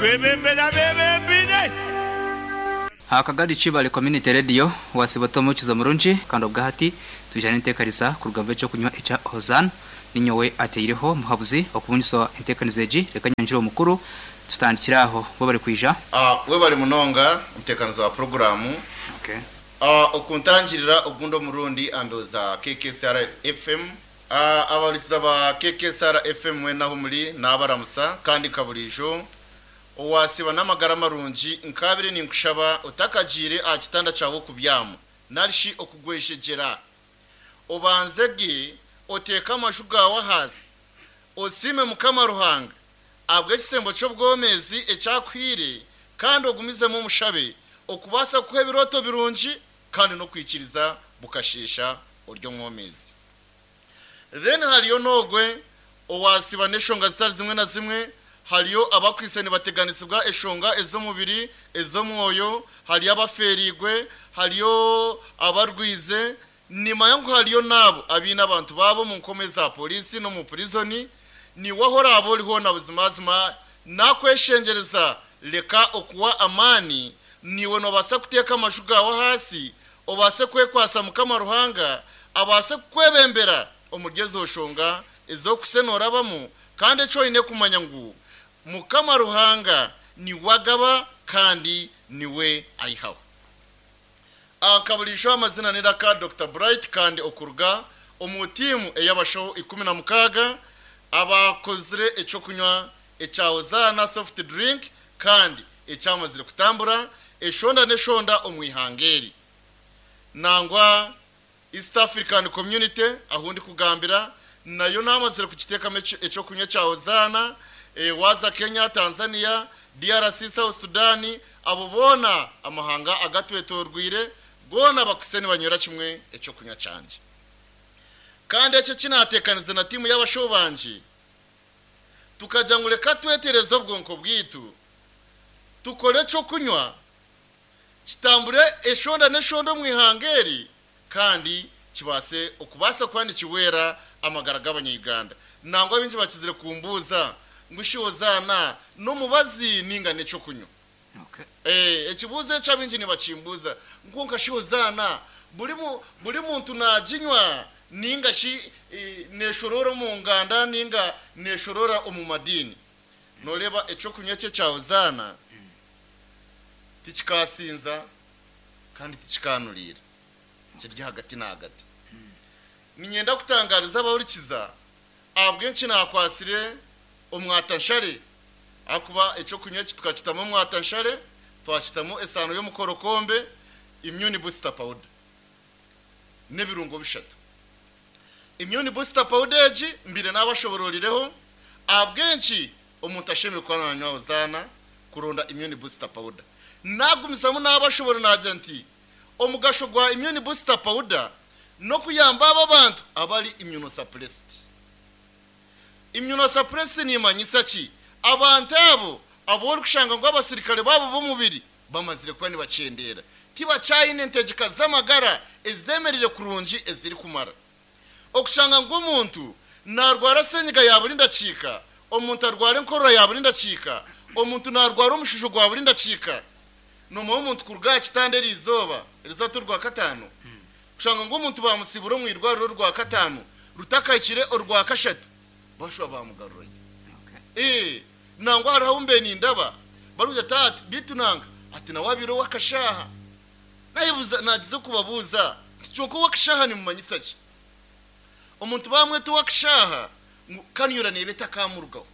Arikwebembera abebembeire. Akagari Kibale Community Radio, Wasiba ota omuhukiza murungi kandi obwahati twija n'enteekaniza kuruga omu b'ekyokunywa ekya Hozana. Ninyowe ateireho muhabuzi okubungiswa enteekaniza egi. Reka nyanjure omukuru tutandikire aho bo bari kwija. Webale munonga omuteekanizi wa puroguraamu. Okuntangirira ogundi omurundi aha mbeho za KKSR FM. Abahurikiza ba KKSR FM mwena ahu muri naabaramusa kandi nka buriijo owaasiiba n'amagara marungi nkaabire ninkushaba otakagiire aha kitanda kyawe okubyama nari shi okugwejegyera. Obanze ge oteeke amaju gaawe ahaasi osiime Mukama Ruhanga ahabw'ekisembo ky'obwomeezi eki akuhaire kandi ogumizemu omushabe okubaasa kukuha ebirooto birungi kandi n'okwikiriza bukasheesha ori omwomeezi. Then hariyo n'ogwe owasiba n'eshonga zitari zimwe na zimwe, hariyo abakwitse nibateganisibwa eshonga ez'omubiri, ez'omwoyo, hariyo abafeereirwe, hariyo abarwize, nimanya ngu hariyo n'abo abaine abantu baabo omu nkoma eza poriisi n'omu purizoni, naiwe ahu oraabe ori hoona buzimazima nakweshengyereza reka okuwa amaani, naiwe noobaasa kuteeka amaju gaawe ahaasi obaase kwekwatsa Mukama Ruhanga abaase kukwebembera omuri ezo nshonga ezi okuhitsya noorabamu, kandi eki oine kumanya ngu Mukama Ruhanga niwe agaba kandi niwe aihaho. Nka buriijo amazina n'eiraka Dokita Bright kandi okuruga omu tiimu ey'abashaho 16 abaakozire eky'okunywa ekya Hozaana Soft Drink kandi ekyamazire kutambura eshonda n'eshonda omu ihanga eri. Nangwa East African Community ahu ndikugambira nayo namazire kugiteekamu eky'okunywa ekya Hozaana, waaza Kenya, Tanzania, DRC, South Sudan, abo boona amahanga agatwetorweire goona bakwitse nibanywera kimwe eky'okunywa kyangye. Kandi eki eki naateekanize na tiimu y'abashaho bangye, Tukagira ngu reka twetereze obwonko bwaitu, tukore eky'okunywa kitambure eshonda n'eshonda omu ihanga eri kandi kibaase okubaasa kuba nikihwera amagara g'abanya-Uganda. Nangwa baingi bakizire kumbuuza ngu shi Hozaana n'omubazi ninga n'eky'okunywa? Ekibuuzo ekyo abaingi nibakimbuuza ngu kwonka shi Hozaana buri muntu naaginywa ninga shi neeshoroora omu nganda ninga neeshoroora omu madiini? Nooreeba eky'okunywa eki ekya Hozaana tikikaasinza kandi tikikaanuriira, kiri ahagati n'ahagati. Niinyenda kutangaariza abahurikiza ahabw'enki naakwatsire omwatanshare Ahakuba eky'okunywa eki tukakitamu omwatanshare, twakitamu esaano y'omukorokombe, immune booster powder, n'ebirungo bishatu. Immune booster powder egi mbaire naabashobororireho ahabw'enki omuntu ashemereire kuba naanywa Hozaana kuronda immune booster powder. Naagumizamu naabashoborora naagira nti omugasho gwa immune booster powder n'okuyamba abo abantu abari immunosuppressed. Immunosuppressed nimanyisa ki? Abantu abo abu orikushanga ngu abasirikare baabo b'omubiri bamazire kuba nibakyendeera, tibakyayine entegyeka z'amagara ezemereire kurungi ezirikumara. Okushanga ngu omuntu narwara senyiga ya buri ndakiika, omuntu arwara enkorora ya buri ndakiika, omuntu narwara omushusho gwa buri ndakiika. Nomanya omuntu kuruga aha kitanda eriizooba, erizooba ti orwakataano, Kushanga ngu omuntu baamusiibura omu irwariro orwakataano rutakahikire orwakashatu, baashuba baamugarurayo. Ee, nangwa hariho abu mbaire nindaba barikugira ati, Ati, beitu nanka, ati nawe abaire ow'akashaaha. Naayebuuza, naagiza okubabuuza nti, Kyonka ow'akashaaha nimumanyisa ki? Omuntu baamweta ow'akashaaha ngu kanyura neeba etakaamurugaho.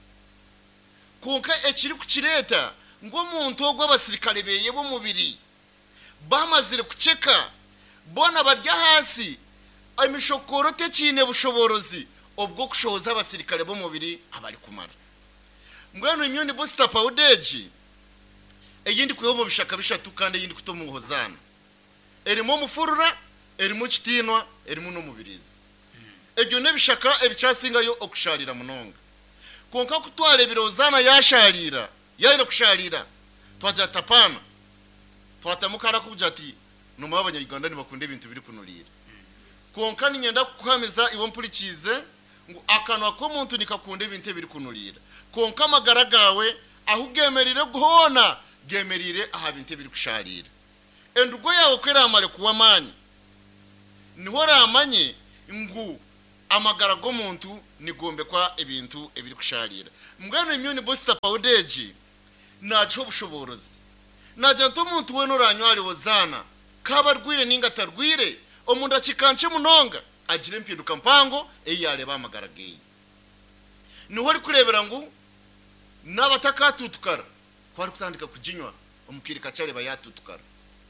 Kwonka ekirikukireeta ngu omuntu ogwo abasirikare beeye b'omubiri Bamazire kuceka, boona bari ahansi, emishokooro tekiine bushoboorozi obw'okushohoza abasirikare b'omubiri abarikumara. Mbwenu immune booster powder egi ei ndikwiha omu bishaka bishatu kandi ei ndikuta omu Hozaana, erimu omufurura, erimu kitiinwa, erimu n'omubiriizi. Ebyo n'ebishaka ebikyasingayo okushaarira munonga. Kwonka ku twareebire Hozaana yaashaariira, yaayenda kushaariira, twagira tuti apaana. Twatamu kare akugira ati, Noomanya Abanya-Uganda nibakunda ebintu birikunuriira. Kwonka niinyenda kukuhamiza iwe ompurikiize ngu akanwa k'omuntu nikakunda ebintu ebirikunuriira. Kwonka amagara gaawe Ahu geemereire hoona geemereire aha bintu ebirikushaariira. Endugo yaawe ku eraamare kuwa amaani, niho oraamanye ngu amagara g'omuntu nigombekwa ebintu ebirikushaariira. Mbwenu immune booster powder egi naagiha obushoboorozi. Naagira nti omuntu weena oraanywa ahari Hozaana, k'abe arwaire nainga atarwaire, omu ndakiika nkye munonga agire empinduka mpango ei yaareeba aha magara ge. Niho orikureebera ngu naaba atakatuutukara, ku arikutandika kuginywa, omu kaire kakye areeba yaatuutukara.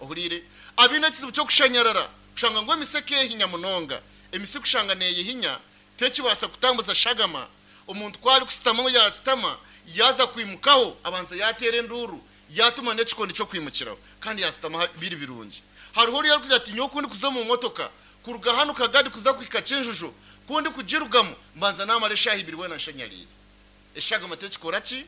Ohuriire? Abaine ekizibu ky'okushanyarara, kushanga ngu emisi ekeehinya munonga. Emisi kushanga neeyehinya, tekibaasa kutambuza shagama. Omuntu ku arikusitama yaasitama, yaaza kwimukaho, abanza yaateera enduuru, yaatuma n'ekikondi ky'okwimukiraho, kandi yaasitama biri birungi. Hariho oriya orikugira ati, Nyowe ku ndikuza omu motoka, kuruga hanu Kagadi kuza kuhika Kinjuju, ku ndikugirugamu, mbanza naamara eshaaha ibiri weena nshanyariire. Eshagama tekikora ki?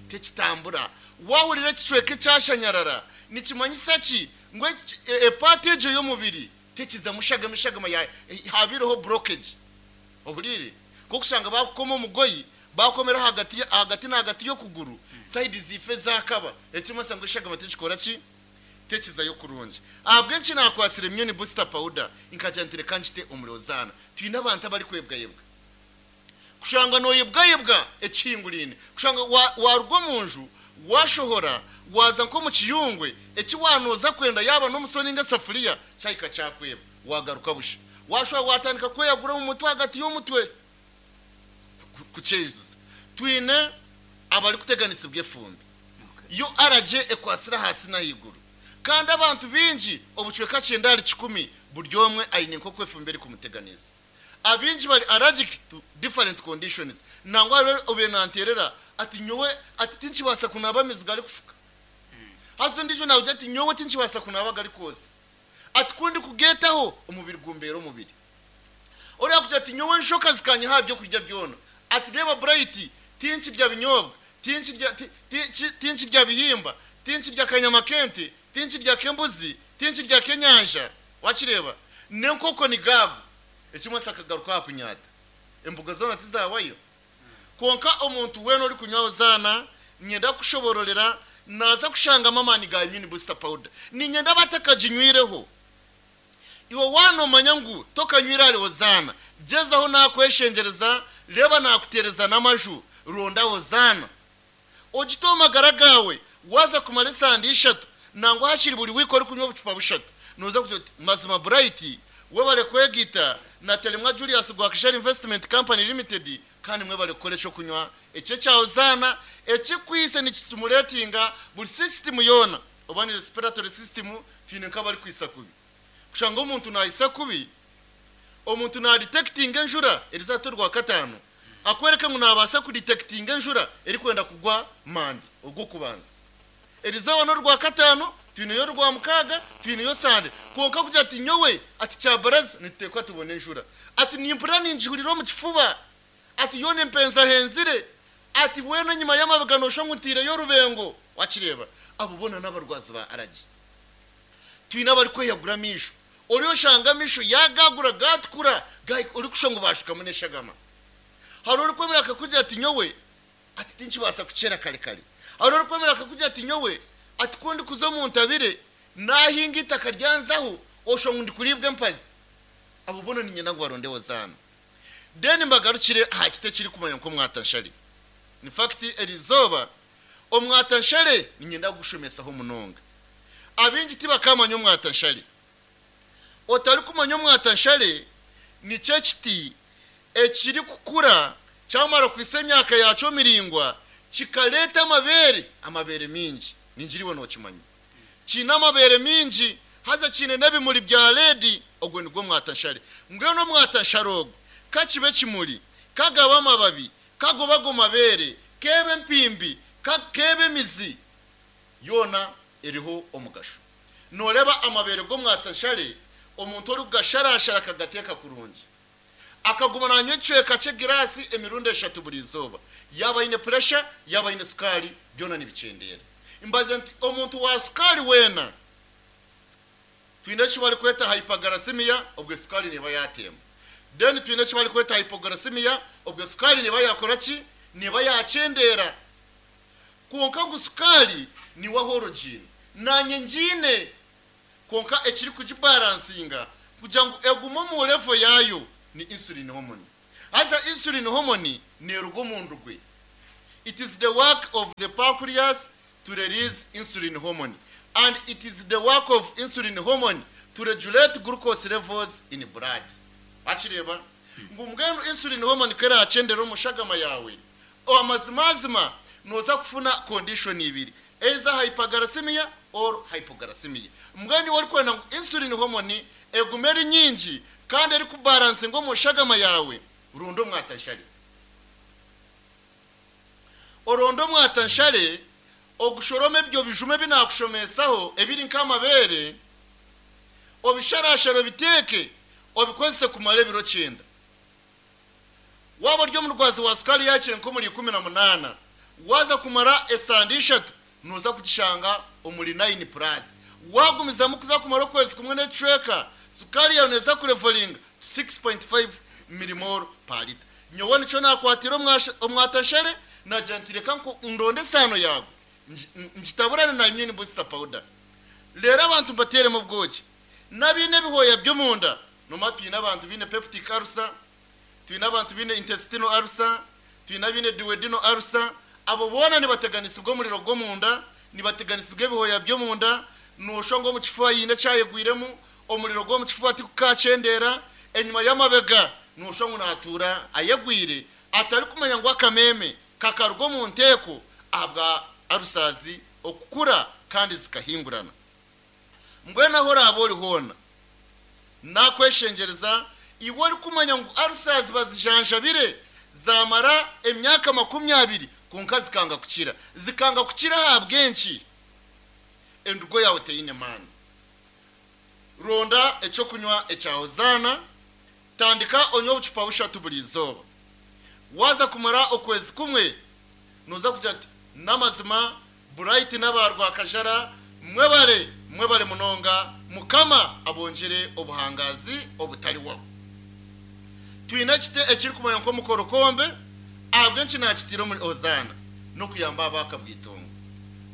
Tekitambura. Waahurira ekicweka ekyashanyarara, nikimanyisa ki? Ngu epaati egyo y'omubiri tekizamu shagama, eshagama ya haabaireho blockage. Ohuriire? Nk'okushanga baakukoma omugoyi, baakomera ahagati ahagati n'ahagati y'okuguru, sayidi ziife zaakaba. Ekimanyisa ngu eshagama tekikora ki? Tekizayo kurungi. Ahabw'enki naakwatsire Immune Booster Powder nkagira nti reka ngite omuri Hozaana? Twine abantu abarikwebwayebwa. Kushanga nooyebwayebwa ekihinguraine, kushanga waaruga omu nju waashohora waaza nk'omu kiyungwe, eki waanooza kwenda yaaba n'omusyo nainga esafuriya kyahika kyakweba, waagaruka busha. Waashohora waatandika kweyagura omu mutwe ahagati y'omutwe kukyeyijuza. Twine abarikuteganisibwa efumbi. Yo aragye ekwatsire ahaasi n'ahaiguru. Kandi abantu baingi obucweka kyenda ahari kikumi buri omwe aine nk'oku efumbi erikumuteganisa. Abaingi bari allergic to different conditions. Nangwa hariho obaire nanteerera ati nyowe ati tinkibaasa kunaaba amaizi garikufuka. Haza ondiijo naagira ati nyowe tinkibaasa kunaaba agarikwotsya. Ati ku ndikugeetaho omubiri gumbeera omubiri. Oriya akugira ati nyowe enjoka zikanyiha aha byokurya byona. Ati reeba Bright tinkirya binyoobwa, tinkirya tinkirya bihimba, tinkirya kanyama k'ente, tinkirya k'embuzi, tinkirya k'enyanja. Wakireeba? N'enkoko ni gaago. Ekimwe akagaruka aha kunyaata. Emboga zoona tizaawayo. Kwonka omuntu weena orikunywa Hozaana, niinyenda kukushoboororera, naaza kushangamu amaani ga Immune Booster Powder. Niinyenda abatakaginywireho. Iwe waaba noomanya ngu tokanywire ahari Hozaana, gyezaho naakweshengyereza, reeba naakuteereza n'amaju, ronda Hozaana. Ogite omu magara gaawe, waaza kumara esande ishatu nangwa hakiri buri wiiki orikunywa obucupa bushatu, nooza kugira oti, Mazima Bright, webare kwegaita na Telemwa Julius Gwakishari Investment Company Limited kandi mwebare kukora eky'okunywa eki ekya Hozaana ekikwaitse nikistimulatinga buri sisitimu yoona oba ni respiratory system twine nk'abarikwitsa kubi. Kushanga omuntu naayitsa kubi, omuntu naadetectinga enjura eriza hati Orwakataano, Akworeka ngu naabaasa kuditektinga enjura erikwenda kugwa Mande, Ogwokubanza. Erizooba n'Orwakataano, twineyo Orwamukaaga, twineyo Sande. Kwonka kugira ati nyowe, ati kyabaraza, nituteekwa tubone enjura. Ati nimpurira ningihurira omu kifuba. Ati yoona empenzahenzire. Ati weena enyima y'amabega nooshusha ngu ntaireyo orubengo. Wakireeba? Abo boona n'abarwazi ba aragi. Twine abarikweyagura amaisho. Ori oshanga amaisho yaagagura gaatukura gahika orikushusha ngu baashukamu n'eshagama. Hariho orikwemera akakugira ati nyowe ati tinkibaasa kukyera kare kare. Hariho orikwemera akakugira ati nyowe ati ku ndikuza omu ntabire naahinga eitaka ryanzaho oshusha ngu ndikuriibwa empazi. Abo boona niinyenda ngu baronde Hozaana. Then mbagarukire aha kiti ekirikumanywa nk'omwatanshare. In fact eriizooba omwatanshare niinyenda kugushomesaho munonga. Abaingi tibakamanya omwatanshare. Otarikumanya omwatanshare nikyo ekiti ekirikukura kyamara kuhitsya emyaka yaakyo miraingwa kikareeta amabeere, amabeere maingi. Ningira iwe nookimanya. Kiine amabeere maingi haza kiine n'ebimuri bya reedi, ogwo nigwo mwatanshare. Mbwenu omwatanshare ogwo ka kibe ekimuri, ka gabe amababi, ka gobe ago mabeere, k'ebe empimbi, ka k'ebe emizi, yoona eriho omugasho. Nooreeba amabeere g'omwatanshare, omuntu orikugasharashara akagateeka kurungi, akaguma naanywa ekicweka ky'egiraasi emirundi eshatu buri izooba, yaaba aine puresha, yaaba aine sukaari, byona nibikyendeera. Mbaze nti omuntu wa sukaari weena, twine eki barikweta hyperglycemia, obwo sukaari neeba yaatemba. Then twine eki barikweta hypoglycemia, obwo sukaari neeba yaakora ki? Neeba yaakyendeera. Kwonka ngu sukaari niwe ahu orugiine. Naanye ngiine. Kwonka ekirikugibaransinga kugira ngu egume omu level yaayo ni insulin hormone. Haza insulin hormone neeruga omu ndugwe. It is the work of the pancreas to release insulin hormone and it is the work of insulin hormone to regulate glucose levels in blood. Wakireeba? Ngu mbwenu insulin hormone ku eraakyendera omu shagama yaawe, amazimazima nooza kufuna condition ibiri, either hyperglycemia or hypoglycemia. Mbwenu iwe orikwenda ngu insulin hormone egume eri nyingi kandi erikubalansinga omu shagama yaawe, ronda omwatanshare. Oronde omwatanshare, ogushorome ebyo bijuma ebi naakushomesaho ebiri nk'amabeere, obisharashare obiteeke, obikozese kumara ebiro kyenda. Waaba ori omurwazi wa sukaari yaakire nk'omuri 18, waaza kumara esande ishatu nooza kugishanga omuri nayini puraasi. Waagumizamu kuza kumara okwezi kumwe n'ekicweka, sukaari yaawe neeza kurevoringa to 6.5 millimole per litre. Nyowe nikyo naakwatira omwatanshare naagira nti reka ndonde esaano yaago ngitaburane na immune booster powder. Reero abantu mbateeremu obwogi. N'abaine ebihooya by'omunda, noomanya twine abantu baine peptic ulcer, twine abantu baine intestinal ulcer, twine abaine duodenal ulcer, abo boona nibateganisibwa omuriro gw'omunda, nibateganisibwa ebihooya by'omunda, nooshwa ngu omu kifuba haine ekyayegwiremu, omuriro gw'omu kifuba tigukakyendeera, enyima y'amabega nooshwa ngu naatuura ayegwire, atarikumanya ngu akameeme kakaruga omu nteeko ahabwa ulcers okukura kandi zikahingurana. Mbwenu ahu oraabe ori hoona, naakweshengyereza iwe orikumanya ngu ulcers bazijanjabire zaamara emyaka 20 kwonka zikanga kukira. Zikanga kukira ahabw'enki? Endugo yaawe teine maani. Ronda ekyokunywa ekya Hozaana, tandika onywe obucupa bushatu buri izooba. Waaza kumara okwezi kumwe, nooza kugira oti, N'amazima, Bright n'aba Rwakajara mwebare, mwebare munonga, Mukama abongyere obuhangaazi obutarihwaho. Twine ekiti ekirikumanywa nk'omukorokombe, ahabw'enki naakitiire omuri Hozaana? N'okuyamba abaakabwitongo.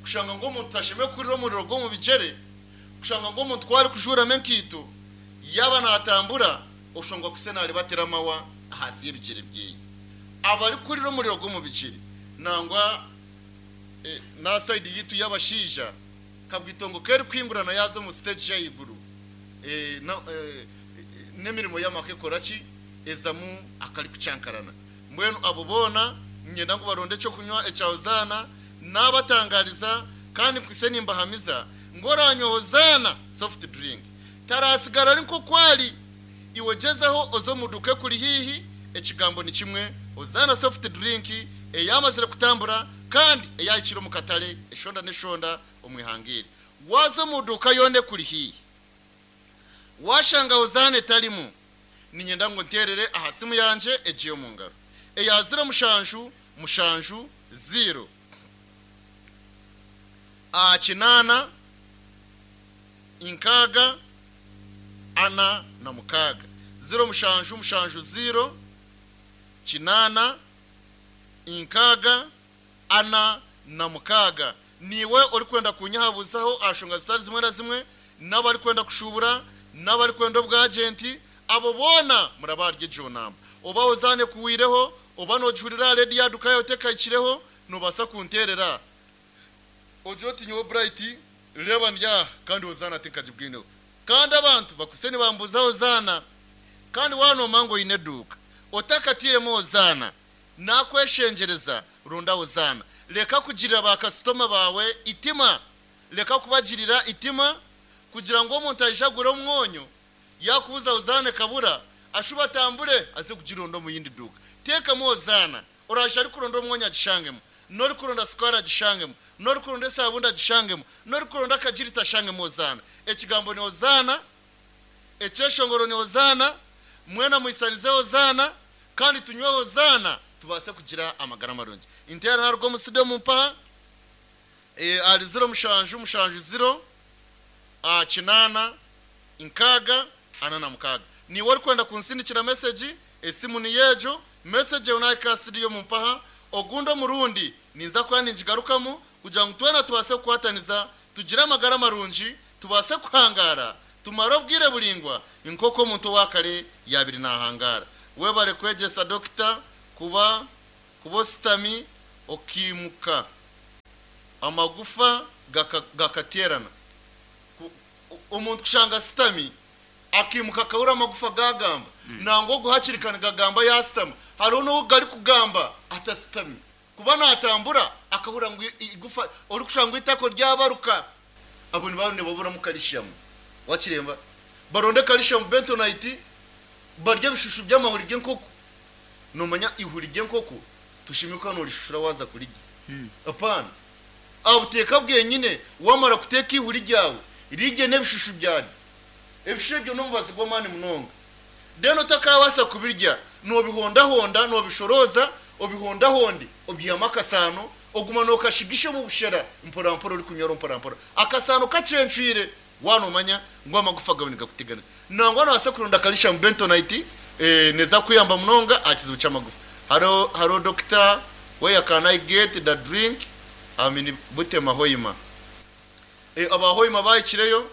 Kushanga ngu omuntu tashemereire kuhurira omuriro gw'omu bigyere, kushanga ngu omuntu ku arikujuuramu enkaito, yaaba naatambura, oshangwa kwitse naaribatira amahwa ahansi y'ebigyere byeye. Abarikuhurira omuriro gw'omu bigyere, nangwa n'aha sayidi yaitu y'abashaija, kabwitongo k'erikuhingurana yaaza omu siteegi y'ahaiguru, n'emirimo y'amaka ekora ki? Ezamu akarikucankarana. Mbwenu abo boona niinyenda ngu baronde ekyokunywa ekya Hozaana, naabatangaariza kandi nkwitse nimbahamiza ngu oraanywa Hozaana soft drink taraatsigara ari nk'oku ari. Iwe gyezaho oze omu duuka ekuri haihi, ekigambo ni kimwe, Hozaana soft drink eyaamazire kutambura kandi eyaahikire omu katare eshonda n'eshonda omu ihanga eri. Waaza omu duuka yoona ekuri haihi, waashanga Hozaana etarimu, niinyenda ngu onteerere aha simu yangye egi ey'omu ngaro eya ziro mushanju mushanju ziiro kinaana nkaaga ana na mukaaga. Ziro mushanju mushanju ziiro kinaana nkaaga ana na mukaaga. Niiwe orikwenda kunyehabuzaho aha nshonga zitari zimwe na zimwe, n'abarikwenda kushuubura, n'abarikwenda obwagenti, abo boona murabe ahari egyo namba. Oba ozaane ekuhweireho, oba noogihurira aha rediyo aha duka yaawe tekahikireho, noobaasa kunteerera ogire oti nyowe Bright reeba ndi aha kandi Hozaana tinkagibwineho. Kandi abantu bakwitse nibambuuza Hozaana. Kandi waaba noomanya ngu oine eduuka, otakatairemu Hozaana, Nakweshengyereza, ronda Hozaana. Reka kugirira baakasitoma baawe eitima. Reka kubagirira eitima kugira ngu omuntu aije agure omwonyo, yaakubuuza Hozaana ekabura, ashube atambure aze kugironda omu yindi duuka. Teekamu Hozaana. Oraije arikuronda omwonyo agishangemu, n'orikuronda sukaari agishangemu, n'orikuronda esaabundi agishangemu, n'orikuronda akagirita ashangemu Hozaana. Ekigambo ni Hozaana. Ekyeshongoro ni Hozaana, mwena muhisanize Hozaana, kandi tunywe Hozaana tubaase kugira amagara marungi. Inteera naruga omu studio mumpaha ahari ziro mushanju mushanju ziro kinaana nkaaga ana na mukaaga. Niiwe orikwenda kunsindikira mesegi, esimu niyo egyo, mesegi eyo nahika aha studio mumpaha, ogundi omurundi ninza kuba ningigarukamu. kugira ngu twena tubaase kukwataniza tugire amagara marungi tubaase kuhangaara tumare obwire buraingwa nk'oku omuntu owa kare yaabaire naahangaara. Webare kwegyesa Dokita kuba kuba ositami okaimuka amagufa gakateerana. Omuntu kushanga asitami akaimuka akahurira amagufa gaagamba, nangwa ogu hakiri ka nigagamba yaasitama. Hariho n'obu garikugamba atasitami. Kuba naatambura akahurira ngu eigufa, orikushusha ngu eitako ryabaruka. Abo nibaba nibaburamu kalishiyamu. Wakireeba? Baronde kalishiyamu bentonite, barye ebishushu by'amahuri g'enkoko. Noomanya eihuri ry'enkoko toshemeriire kuba noorishushura waaza kurirya. Apaana. Aha buteeka bwenyine, waamara kuteeka eihuri ryawe, rirye n'ebishushu byaryo. Ebishushu ebyo n'omubazi gw'amaani munonga. Then otakaabaasa kubirya, noobihondahonda, noobishorooza, obihondahonde, obyihamu akasaano, oguma nookashigisha omu bushera mporampora orikunywaho mporampora. Akasaano kacencwire, waaba noomanya ngu amagufa gaawe nigakuteganisa. Nangwa noobaasa kuronda calcium bentonite, neeza kukuyamba munonga aha kizibu ky'amagufa. Hariho hariho Dokita, where can I get the drink? I'm in Butema Hoima. Aba Hoima baahikireyo,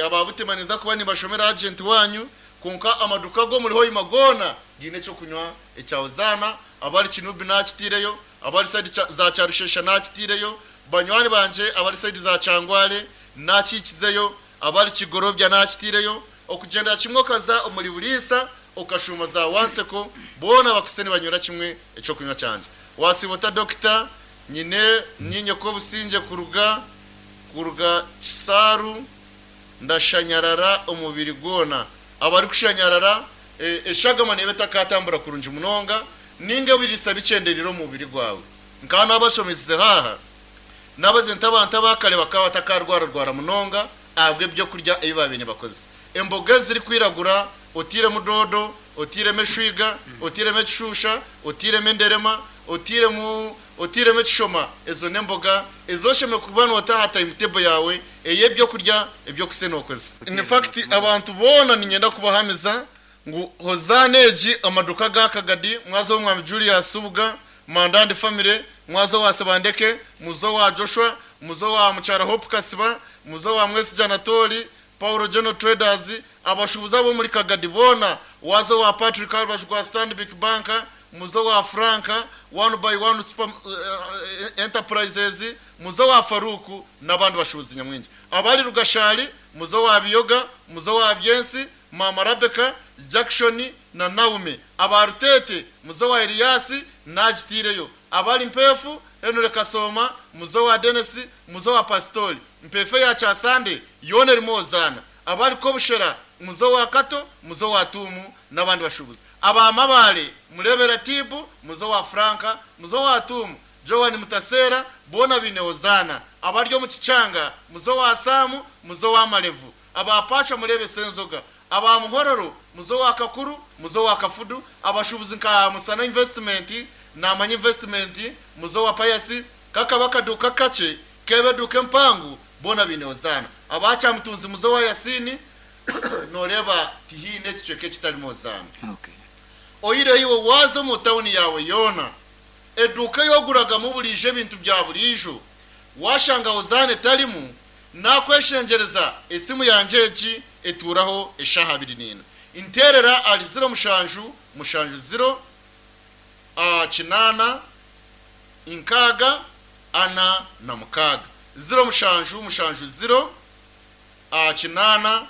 Aba Butema ninza kuba nimbashomera agenti waanyu, kwonka amaduuka ag'omuri Hoima goona gaine eky'okunywa ekya Hozaana, abari Kinubi naakitaireyo, abari sayidi za Kyarushesha naakitaireyo, banywani bangye abari sayidi za Kyangwale naakihikizeyo, abari Kigorobya naakitaireyo, okugyendera kimwe okaza omuri Buriisa okashuuma za Wanseko, boona bakwaitse nibanywera kimwe eky'okunywa kyangye. Waasiiba ota Dokita? Nyine niinye Kobusingye kuruga Kuruga Kisaaru ndashanyarara omubiri gwona. Abarikushanyarara, eshagama neeba etakaatambura kurungi munonga ninga ebiriisa bikyendereire omu mubiri gwawe. Nkaba naabashomesize haaha, naabagira nti abantu aba kare bakaba batakaarwararwara munonga ahabw'ebyokurya ebi baabaire nibakozesa. Emboga ezirikwiragura, otairemu doodo, otairemu eshwiga, otairemu ekishuusha, otairemu enderema, otairemu Otairemu ekishoma, ezo n'emboga ezi oshemereire kuba noota aha timetable yaawe ey'ebyokurya eby'okusa nookozesa. In fact abantu boona niinyenda kubahamiza ngu Hozaana egi amaduuka aga Kagadi, mwaza ow'Omwami Julius Subuga, Mandandi family, mwaza owa Sebandeke, muza owa Joshua, muza owa Mukyara Hope Kasiba, muza owa Mwesigye Anatoli, Paulo General Traders, abashuubuzi ab'omuri Kagadi boona, waaza owa Patrick aha rubaju rwa Stanbic Bank, muze owa Frank, One by One Super Enterprises, muze owa Farouk n'abandi bashuubuzi nyamwingi. Abari Rugashari, muze owa Biyoga, muze owa Byensi, Maama Rabecca, Jackson na Naume. Aba Ruteete, muze owa Elias, naagitaireyo. Abari Mpeefu, Henry Kasooma, muze owa Denis, muze owa Pasitori. Mpeefu eya Kyasande yoona erimu Hozaana. Abari Kobushera, muze owa Kato, muze owa Tuumu n'abandi bashuubuzi. Aba Mabaale, mureebe Ratibu, muze owa Franka, muze owa Tuumu, Joan Mutaseera, boona baine Hozaana. Abari omu Kikyanga, muze owa Saamu, muze owa Marevu. Aba Paachwa mureebe Senzoga. Aba Muhororo, muze owa Kakuru, muze owa Kafudu. Abashuubuzi nka Musana Investment, Naamanya Investment, muze owa Payasi, kakaba akaduuka kakye, keeba eduuka empango, boona baine Hozaana. Aba Kyamutunzi muze owa Yasiini, Nooreeba tihaine ekicweka ekitarimu Hozaana. Oihireho iwe waaza omu tauni yaawe yoona, eduuka ei oguragamu buriijo ebintu bya buriijo, waashanga Hozaana etarimu, naakweshengyereza esimu yangye egi etuuraho eshaaha abiri n'ina. Nteerera ahari ziro mushanju mushanju ziro kinaana nkaaga ana na mukaaga. Ziro mushanju mushanju ziro. 8,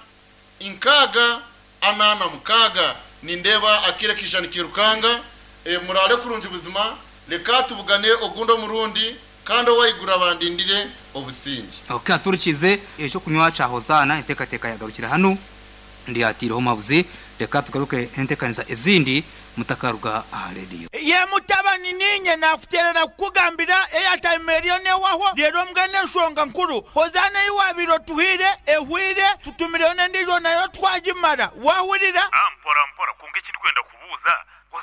6, 46. Nindeeba akaire kaija nikairukanga. Muraare kurungi buzima. Reka tubugane ogundi omurundi, kandi ow'ahaiguru abandindire obusingye. Ok aturikize ekyokunywa kya Hozaana enteekateeka yagarukira hanu ndyatiireho omuhabuzi reka tugaruke n'enteekaniza ezindi mutakaruga aha rediyo. Ye mutabani, niinye naakuteerera kukugambira airtime eriyo neehwaho, reero mbwenu enshonga nkuru, Hozaana ei waabaire otuhaire ehweire, tutumireyo n'endiijo nayo twagimara. Waahurira? Mpora mpora, kwonka eki ndikwenda kubuuza,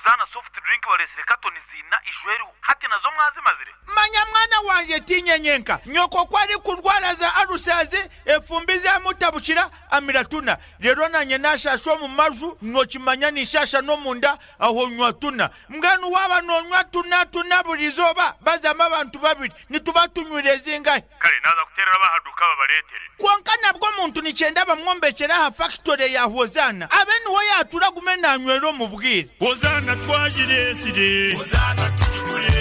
Hozaana soft drink bareetsire katoni ziina ijo eriho. Hati nazo mwazimazire? Manya mwana wangye tiinye nyenka, nyoko ku arikurwara za alusazi, efumbi zamutabukira, amira tuna. Reero naanye naashaasha omu maju, nookimanya ninshaasha n'omunda, aho nywa tuna. Mbwenu waaba noonywa tuna tuna buri izooba, bazamu abantu babiri, nituba tunywire zingahi? Kare naaza kuteerera ab'aha duuka babareetere. Kwonka nabwo omuntu nikyenda bamwombekyere aha fakitore ya Hozaana, abe niho yaatura agume naanywera omu bwire. Hozaana twagireetsire. Hozaana tugigure.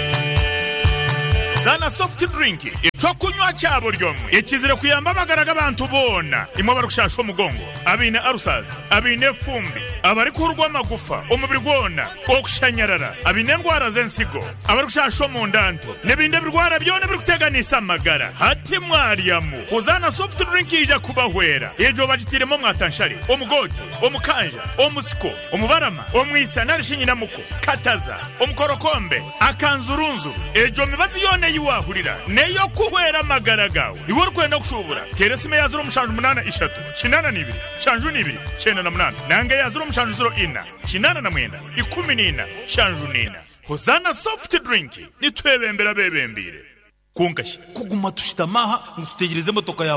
Zaana soft drink, eky'okunywa kya buri omwe ekizire kuyamba amagara g'abantu boona, imwe abarikushasha omugongo, abaine ulcers, abaine efumbi, abarikuhurwa amagufa omubiri gwona, okushanyarara, abaine endwara z'ensigo, abarikushasha omunda nto, n'ebindi ebirwara byona ebirikuteganisa amagara. Hati mwaryamu, Hozaana soft drink yaija kubahwera. Egyo bagitairemu omwatanshare, omugoote, omukanja, omusiko, omubarama, omwisa nari shi nyinamuko, kataza, omukorokombe, akanzurunzuru. Egyo mibazi yoona ei waahurira n'ey'okuhwera amagara gaawe. Iwe orikwenda kushuubura, teera esimu eya 073 82 72 98 nanga eya 0704 89 14 74. Hozaana Soft Drink, nitwebembera abeebembeire. Kwonka shi kuguma tushutami aha ngu tutegyereze emotoka ya.